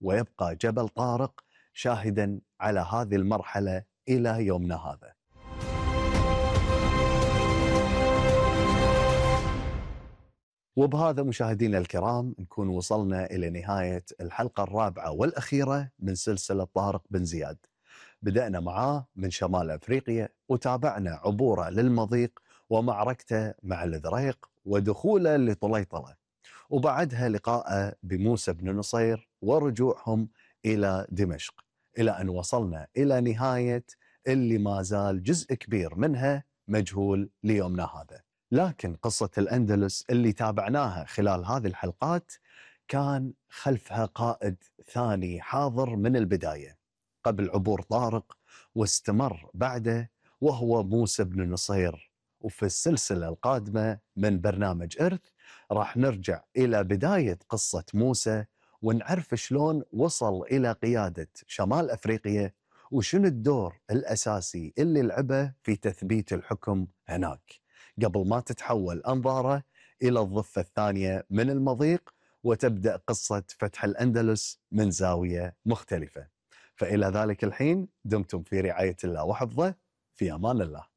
ويبقى جبل طارق شاهدا على هذه المرحلة إلى يومنا هذا. وبهذا مشاهدينا الكرام نكون وصلنا إلى نهاية الحلقة الرابعة والأخيرة من سلسلة طارق بن زياد. بدأنا معاه من شمال أفريقيا، وتابعنا عبوره للمضيق ومعركته مع الإذريق ودخوله لطليطلة، وبعدها لقاءه بموسى بن نصير ورجوعهم إلى دمشق، إلى أن وصلنا إلى نهاية اللي ما زال جزء كبير منها مجهول ليومنا هذا. لكن قصة الأندلس اللي تابعناها خلال هذه الحلقات كان خلفها قائد ثاني حاضر من البداية قبل عبور طارق واستمر بعده، وهو موسى بن نصير. وفي السلسلة القادمة من برنامج إرث راح نرجع إلى بداية قصة موسى ونعرف شلون وصل إلى قيادة شمال أفريقيا، وشنو الدور الأساسي اللي لعبه في تثبيت الحكم هناك قبل ما تتحول أنظاره إلى الضفة الثانية من المضيق وتبدأ قصة فتح الأندلس من زاوية مختلفة. فإلى ذلك الحين دمتم في رعاية الله وحفظه، في أمان الله.